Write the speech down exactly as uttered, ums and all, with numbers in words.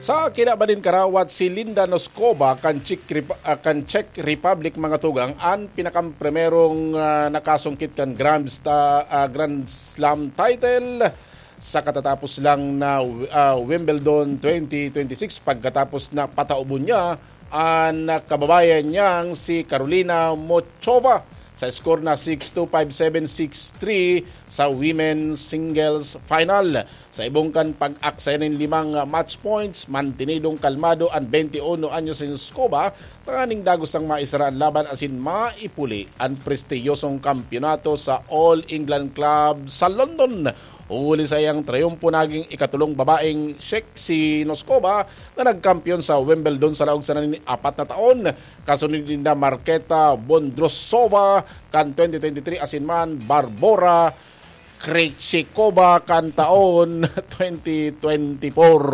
Sa kinaban nin karawat, si Linda Noskova kan Czech, Rep- ah, kan Czech Republic, mga tugang, an pinakamprimerong ah, nakasungkit kan Grand, Sta- ah, Grand Slam title sa katatapos lang na ah, Wimbledon twenty twenty-six, pagkatapos na pataubon niya an kababayan niyang si Karolina Muchova sa score na six two, five seven, six three sa women's singles final. Sa ibong kan pag-aksaya nin limang match points, mantenidong kalmado an twenty-one anyos nin Noskova tanganing dagos ang maisara an laban asin maipuli an prestiyosong kampiyonato sa All England Club sa London. Huli sa iyang triyumpo, naging ikatulong babaeng Czech si Noskova na nagkampiyon sa Wimbledon sa laog sana nin apat na taon. Kasunod ninda Marketa Bondrousova kan twenty twenty-three asin man Barbora Krejcikova kan taon twenty twenty-four.